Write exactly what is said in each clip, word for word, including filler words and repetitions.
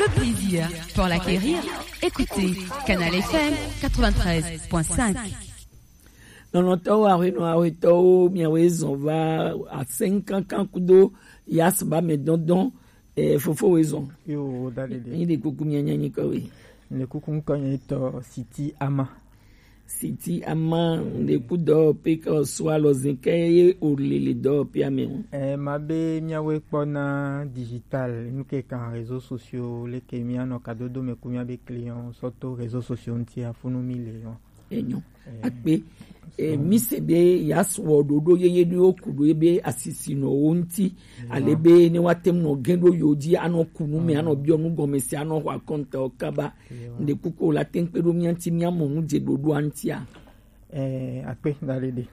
Le plaisir pour l'acquérir, écoutez Canal F M quatre-vingt-treize point cinq. Nɔnɔtɔwo, aƒenɔ, aƒetɔwo, miawoe zɔn va asɛnkankan kudo yasba mɛ dɔndɔn, eh, fofowoe zɔn. Yo, da ɖeɖe. Yi ɖe kuku mia nya nyikɔ we. Ne kuku ŋkɔ nye tɔ Siti Ama. Siti Ama, le ku dɔ pe ka so alɔ zin ke ye o le le dɔ pe ame o. Eh, ma be miawoe kpɔ na digital, nu ke kan réseaux sociaux, le ke mia nɔ kadodo me ku mia be client sɔ to réseaux sociaux ŋti afunu mi le yo. Enyo. Akpe. Eh, mi se be ya sɔ ɖoɖo yeye ɖewo ku ɖo ebe asisi nɔ wo ŋti. Ale be ne wa tem nɔ gen ɖo yo dzi anɔ kunu me, anɔ biɔ nu gɔme se, anɔ xɔ akɔnta o kaba. Nde kuku la teŋ kpe ɖo mia ŋti, mia mɔ nu dze ɖoɖoa ŋtia. Eh, akpe da ɖeɖe.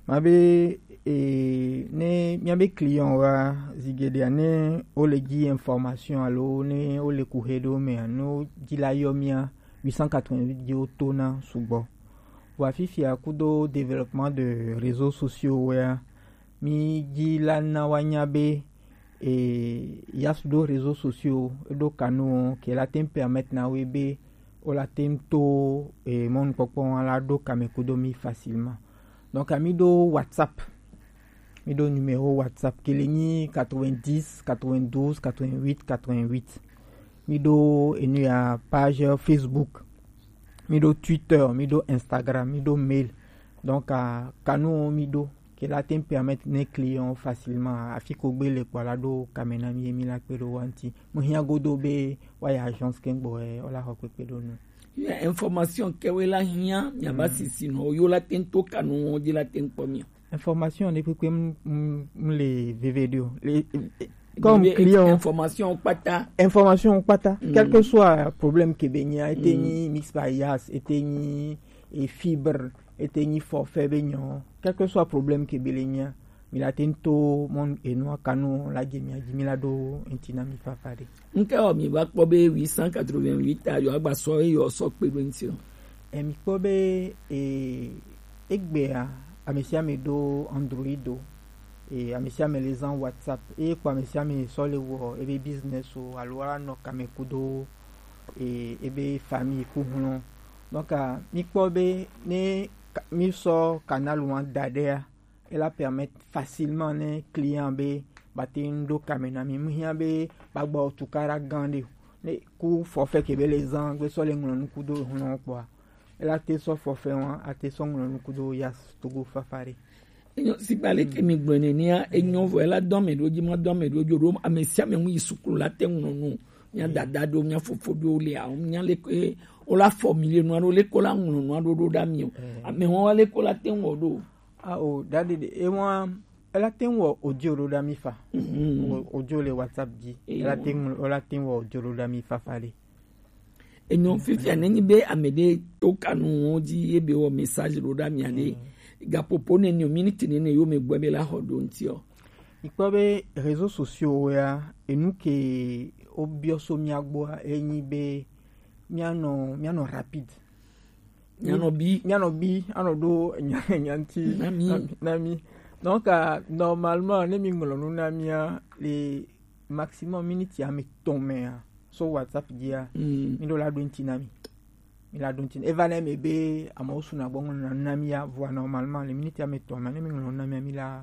Ma be, eh, ne mia be client wa zigeɖea ne wo le dzi information alo ne wo le kuxe ɖewo mea, no dzi la yɔ mia huit cent quatre-vingt-huit dzi wo to na sugbɔ. Vɔa fifia kudo développement de réseaux sociaux wea, mi dzi la na wa nya be, eh, ya su ɖo réseaux sociaux, ɖo kanu ke la teŋ permettre na wo be wo la teŋ to, eh, mɔnukpɔkpɔ wa la ɖo kame kudo mi facilement. Donc, ami ɖo WhatsApp. Mi ɖo numéro WhatsApp ke le nyi quatre-vingt-dix, quatre-vingt-douze, quatre-vingt-huit, quatre-vingt-huit. Mi ɖo enu ya page Facebook. Mi ɖo Twitter, mi ɖo Instagram, mi ɖo mail. Donc, ah, kanu mi ɖo ke la teŋ permettre ne client facilement afi ko gbe le kpɔ la ɖo kame na mi, mi la kpe ɖo wa ŋti. Mo hiã godo be wa ya agence ke gbɔ, eh, o la xɔ kpekpe ɖo nu. Ya information ke we la hiã, mia ba sisi no, yo la teŋ to kanu wo dzi la teŋ kpɔ mi. Information ne kpekpe m, m, m le veve ɖo. Le, comme client information kpata. Information kpata. Quel que soit problème ke be nya, ete nyi mix bias, ete nyi e fibre, ete nyi forfait be nyɔ, quel que soit problème ke be le nya, mi la teŋ to mɔn enua kanu la dze mia dzi mi la ɖo ŋti na mi fafa ɖe. Nke o mi va kpɔ be huit cent quatre-vingt-huit a yo agba sɔ eyo sɔ kpe ɖo ŋti o. E mi kpɔ be, e, egbea, ame sia ame ɖo Android o. E, ame sia ame le zan WhatsApp. E kpɔ ame sia ame sɔ le wɔ ebe business o alo ala nɔ kame kudo, e, ebe famille ku hlɔn. Donc, ah, mi kpɔ be ne ka, mi sɔ canal wa da ɖea, e la permettre facilement ne client be ba te ŋ ɖo kame na mi. Mu hiã be ba gbɔ tukara gan ɖe o. Ne ku forfait ke be le zan gbe sɔ le ŋlɔ nu kudo hlɔn kpɔa, e la te sɔ forfait wa, a te sɔ ŋlɔ nu kudo ya Togo fafa ɖe. Enyo, sigba leke mi gblɔe nenea, enyo vɔ, ela dɔ ame ɖewo dzi, ma dɔ ame ɖewo dzi o, ɖo ame sia ame ŋu yi sukulu la te ŋlɔ nu. Mia dada ɖo, mia fofo ɖo le awo, mia leke o la formuler nua ɖo, leke o la ŋlɔ nua ɖo ɖo ɖa mi o. Ame wa leke o la te ŋ wɔ ɖo. A o, da ɖeɖe, e wa, ela te ŋ wɔ audio ɖo ɖa mi fa. O, audio le WhatsApp dzi. Ela te ŋlɔ, ela te ŋ wɔ audio ɖo ɖa mi fafa ɖe. Enyo, fifia nenyi be ame ɖe to kanu wo dzi ye be wɔ message ɖo ɖa mia ɖe. Gapopo nene o, minute nene yo me gbɔ be la xɔ ɖo ŋti o. Mi kpɔ be réseaux sociaux ya, enu ke wo biɔ so mia gbɔa, enyi be mia nɔ, mia nɔ rapide. Mia nɔ bi. Mia nɔ bi, anɔ ɖo nya, nya ŋti na mi. Na mi. Donc, ah, normalement, ne mi ŋlɔ nu na mia, le maximum minute ame etɔ̃ mea, so WhatsApp dzia, mi ɖo la ɖo ŋti na mi. Mi la ɖo ŋti. Eva na mi be amewo suna gbɔ ŋlɔ na mi ya, vɔa normalement le minute ame etɔ̃ me ne mi ŋlɔ na mi, mi la,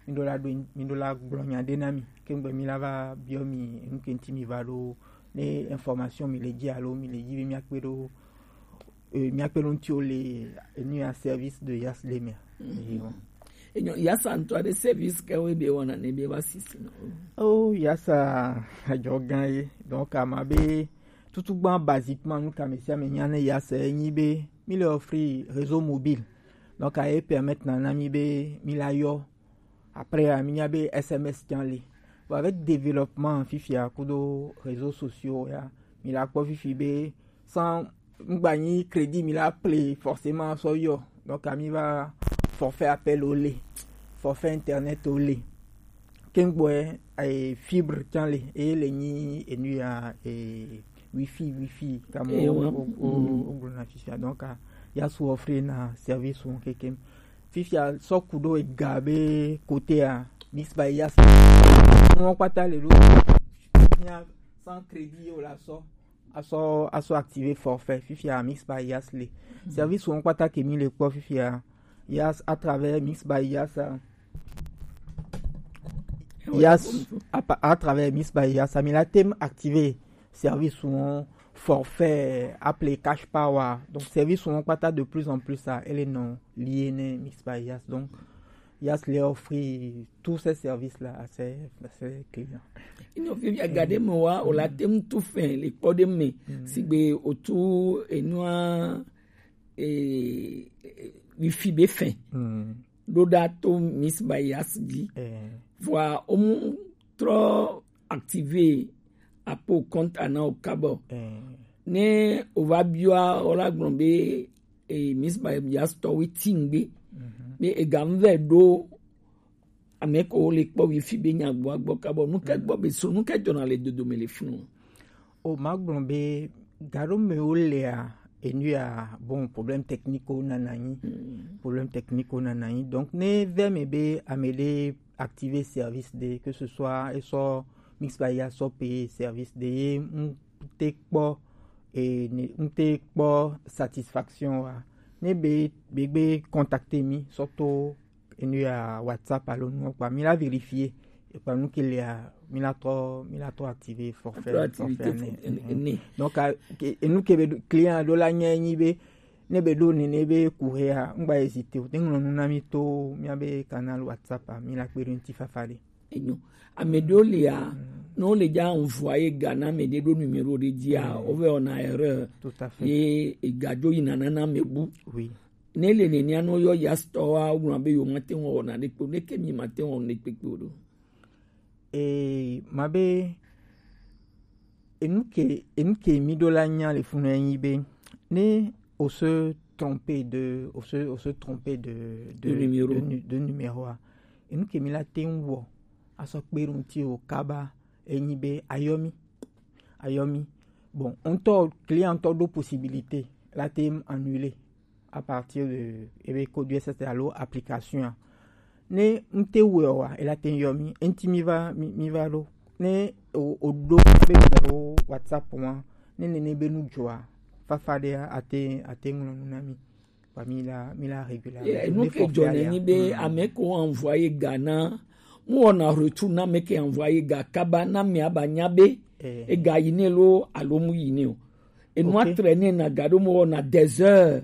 mi ɖo la ɖo, mi ɖo la gblɔ nya ɖe na mi. Ke ŋgbe mi la va biɔ mi enu ke ŋti mi va ɖo, ne information mi le dzi alo mi le dzi be mi akpe ɖo, eh, mi akpe ɖo ŋti o le enu ya service de Yas le mea. Enyo, Yasa ŋutɔ ɖe service ke wo be wɔna ne be va sisi no. Oh, Yasa adzɔ gã ye. Donc, ama be tutugba basiquement nu kame sia me nya ne Yasa enyi be mi le offrir réseau mobile. Donc, a ye permettre na, na mi be mi la yɔ. Après, a mi nya be S M S can le. Bon, avec développement fifia kudo réseaux sociaux ya, mi la kpɔ fifi be sans ŋgba nyi crédit mi la ple forcément sɔ yɔ. Donc, ami va forfait appel o le, forfait internet o le. Kengboe, eh, fibre can le, e le nyi enu ya, eh, wifi, wifi, kamo o, o, o, o gblɔ na fifia. Donc, ah, ya su offrir na service wo kekem. Fifia sɔ ku ɖo ega be côté a, Mix by Yas. Nuwo kpata le ɖo. Sans crédit o la sɔ. Asɔ, asɔ activer forfait. Fifia Mix by Yas le. Service wo kpata ke mi le kpɔ fifia. Yas à travers Mix by Yas. Yas, à, pa- à travers Mix by Yas, mi la tem activer service wo forfait appelé Cash Power. Donc service wo kpata de plus en plus ça, elle est non liée ne Mix by Yas. Donc Yas les offre tous ces services-là à ses, à ses clients. Ino fi mi agade mo wa o la tem tu fin le kpɔ de me. Sigbe o tu enua e, e, wifi be fin. Ɖo ɖa to Mix by Yas dzi. Vɔa o mu trɔ activer apo compte ana o kabɔ. Ne o va biwa o la gblɔ be e, Mix by Yas tɔ we ti ngbe. Be e ga mu vɛ ɖo ame ko le kpɔ wifi be nya gbɔ agbɔ kabɔ. Nu ke gbɔ be so, nu ke dzɔna le dodo me le funu. O ma gblɔ be gaɖo me wo lea, enu ya, bon, problème technique wo nana anyi. Problème technique wo nana anyi. Donc ne vɛ me be ame ɖe activer service ɖe, que ce soit e sɔ Mix by Yas sɔ payer service ɖe ye n te kpɔ e ne n te kpɔ satisfaction wa. Ne be be gbe contacter mi sɔ to enu ya WhatsApp alo nu kpa mi la vérifier. E kpa nu ke lea mi la trɔ, mi la trɔ activer forfait. Trɔ activer forfait forfait ne. Donc a- ke- enu ke be ɖo- client ɖo la nya nyi be ne be ɖo nene be ku hea, n gba hésiter o, te ŋlɔ nu na mi to mia be canal WhatsApp a, mi la kpe ɖo ŋuti fafa ɖe. Enyo. Ame ɖewo lia, ne wole dza envoyer ga na ame ɖe ɖo numéro ɖe dzia, wovɛ wɔna erreur. Tout à fait. Ye ega dzo yina nana ame bu. Oui. Ne le nenea, ne woyɔ Yas tɔwoa, wogblɔna be yewomate ŋu awɔ naɖe kpe o. Neke mi mate ŋu awɔ nuɖe kpekpe o ɖo? E ma be enu ke enu ke mi ɖo la nya le funu enyi be ne o se tromper de o se o se tromper de de, de numéro. De nu- de numéro a, enu ke mi la te ŋu wɔ asɔ kpe ɖo ŋuti o kaba enyi be ayɔ mi, ayɔ mi. Bon, ŋutɔ client ŋutɔ ɖo possibilité la te ŋu annuler à partir de ebe code U S S D alo application a. Ne n te wɔe oa, e la te ŋu yɔ mi, eŋti mi va mi, mi va ɖo. Ne o o ɖo be o WhatsApp wa, ne nene be nu dzɔa, fafa ɖe a te a te ŋlɔ nu na mi. Kpa mi la mi la régulariser. Ye, nu ke dzɔ ne nyi be ame ko envoyer ga na, mu wɔna retour na ame ke envoyer ga kaba na ame aba nya be ega yi ne lo alo mu yi ne o. Enua traîner na ga ɖo mu wɔna des heures.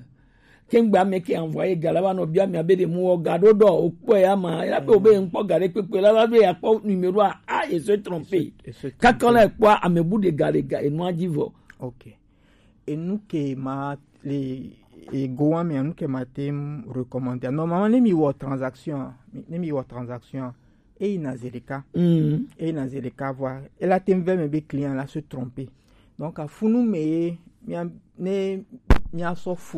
Kengbe ame ke envoyer ga la va nɔ bia mi abe ɖe mu wɔ ga ɖo ɖɔ o kpɔ ya ma, ya be o be ŋkpɔ ga ɖe kpekpe la, la be ya kpɔ numéro a, a, e se tromper. Kaka la kpɔ ame bu ɖe ga ɖe ga enua dzi vɔ. Ok. Enu ke ma le ego wa me, enu ke ma te ŋu recommander. Normalement ne mi wɔ transaction, ne mi wɔ transaction, e yina zi ɖeka. E yina zi ɖeka vɔa, e la te ŋu vɛ me be client la se tromper. Donc afunu me ye mia ne mia sɔ funu